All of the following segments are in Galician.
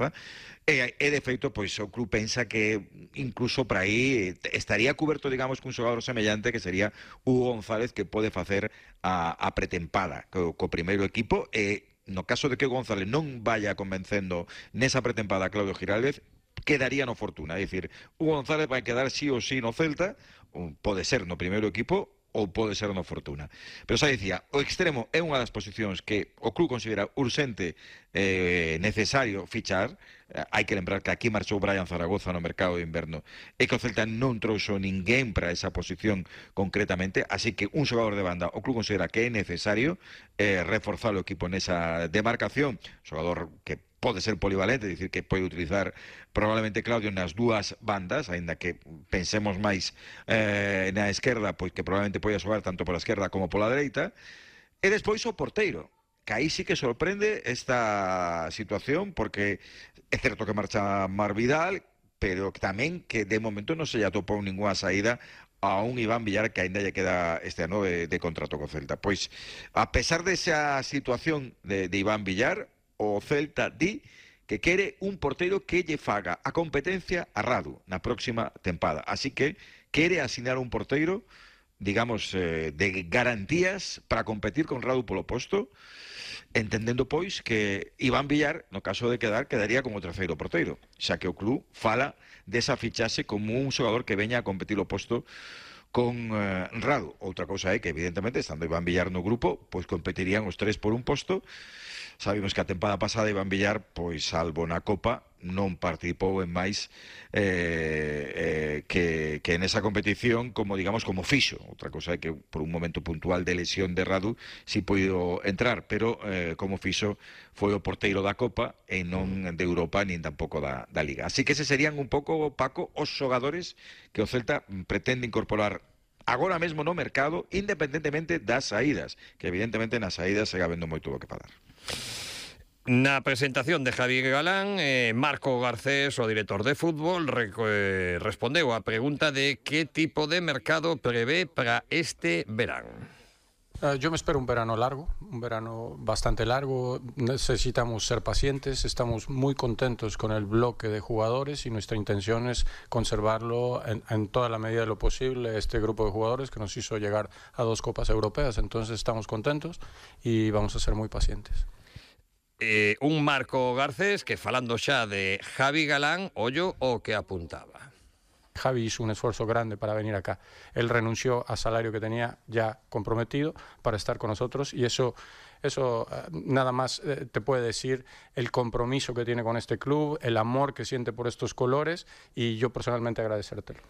Zaragoza, e de feito, pois o club pensa que incluso para aí estaría cuberto, digamos, cun xogador semellante que sería Hugo González, que pode facer a pretempada co primeiro equipo, e no caso de que González non vaya convencendo nesa pretempada a Claudio Giraldez, quedaría no Fortuna. É dicir, Hugo González vai quedar sí ou sí no Celta, pode ser no primeiro equipo ou pode ser no Fortuna. Pero xa dicía, o extremo é unha das posicións que o club considera urxente, necesario fichar. Hai que lembrar que aquí marchou Brian Zaragoza no mercado de inverno e que o Celta non trouxo ninguén para esa posición concretamente, así que un xogador de banda o club considera que é necesario reforzar o equipo nesa demarcación, xogador que pode ser polivalente, é dicir, que pode utilizar probablemente Claudio nas dúas bandas, aínda que pensemos máis na esquerda, pois que probablemente pode xogar tanto pola esquerda como pola dereita. E despois o porteiro, que aí sí que sorprende esta situación, porque é certo que marcha Mar Vidal, pero tamén que de momento non se lle atopou ninguna saída a un Iván Villar que aínda lle queda este ano de contrato co Celta. Pois, a pesar desa situación de Iván Villar, o Celta di que quere un porteiro que lle faga a competencia a Radu na próxima tempada. Así que quere asignar un porteiro, digamos, de garantías para competir con Radu polo posto, entendendo, pois, que Iván Villar, no caso de quedaría como terceiro porteiro, xa que o club fala desa fichaxe como un xogador que veña a competir o posto con Radu. Outra cousa é que, evidentemente, estando Iván Villar no grupo, pois competirían os tres por un posto. Sabemos que a tempada pasada Iván Villar, pois salvo na Copa, non participou en máis que nesa competición como, digamos, como fixo. Outra cousa é que por un momento puntual de lesión de Radu si puido entrar, pero como fixo foi o porteiro da Copa e non de Europa nin tampouco da Liga. Así que ese serían un pouco, Paco, os xogadores que o Celta pretende incorporar agora mesmo no mercado, independentemente das saídas, que evidentemente nas saídas segue habendo moito do que falar. Na presentación de Javi Galán, Marco Garcés, o director de fútbol, respondeu a pregunta de que tipo de mercado prevé para este verán. Yo me espero un verano largo, un verano bastante largo. Necesitamos ser pacientes, estamos muy contentos con el bloque de jugadores y nuestra intención es conservarlo en toda la medida de lo posible, este grupo de jugadores que nos hizo llegar a 2 Copas Europeas. Entonces estamos contentos y vamos a ser muy pacientes. Un Marco Garcés que, falando xa de Javi Galán, ollo o que apuntaba. Javi hizo un esfuerzo grande para venir acá. Él renunció al salario que tenía ya comprometido para estar con nosotros y eso nada más te puede decir el compromiso que tiene con este club, el amor que siente por estos colores y yo personalmente agradecértelo.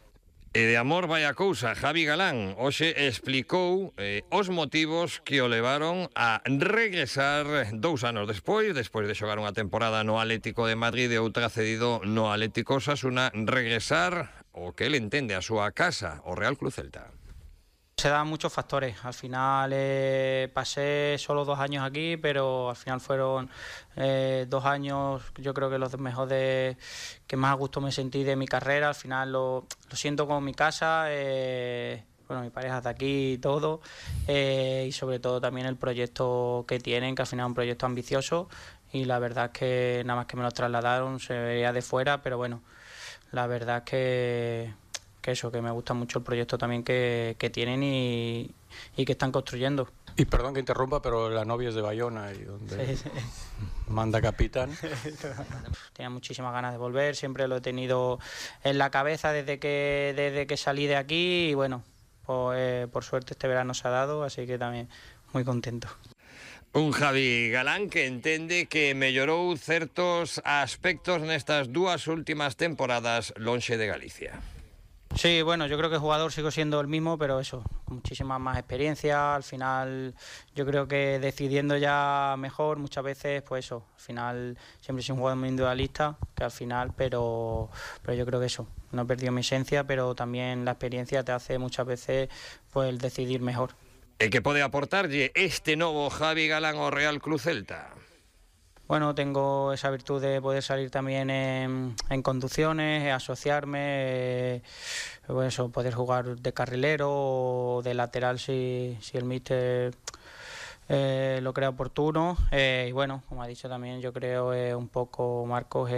E de amor vai a cousa. Javi Galán hoxe explicou os motivos que o levaron a regresar 2 anos despois de xogar unha temporada no Atlético de Madrid e outra cedido no Atlético Osasuna, regresar o que él entende a súa casa, o Real Club Celta. Se dan muchos factores. Al final pasé solo 2 años aquí, pero al final fueron 2 años, yo creo que los mejores, que más a gusto me sentí de mi carrera. Al final lo siento como mi casa. Bueno, mi pareja está aquí y todo. Y sobre todo también el proyecto que tienen, que al final es un proyecto ambicioso. Y la verdad es que nada más que me lo trasladaron, se veía de fuera, pero bueno, la verdad es que eso, que me gusta mucho el proyecto también que tienen y que están construyendo. Y perdón que interrumpa, pero la novia es de Bayona y donde sí. Manda capitán. Tenía muchísimas ganas de volver, siempre lo he tenido en la cabeza desde que salí de aquí y bueno, pues, por suerte este verano se ha dado, así que también muy contento. Un Javi Galán que entende que mellorou certos aspectos nestas 2 últimas temporadas lonxe de Galicia. Sí, bueno, yo creo que el jugador sigo siendo el mismo, pero eso, con muchísima más experiencia. Al final, yo creo que decidiendo ya mejor, muchas veces, pues eso, al final siempre soy un jugador muy individualista, que al final, pero yo creo que eso, no he perdido mi esencia, pero también la experiencia te hace muchas veces pues el decidir mejor. E que pode aportarlle este novo Javi Galán ao Real Club Celta? Bueno, tengo esa virtud de poder salir también en conducciones, asociarme, pues eso, poder jugar de carrilero o de lateral si el míster lo crea oportuno. Y bueno, como ha dicho también, yo creo un poco Marcos,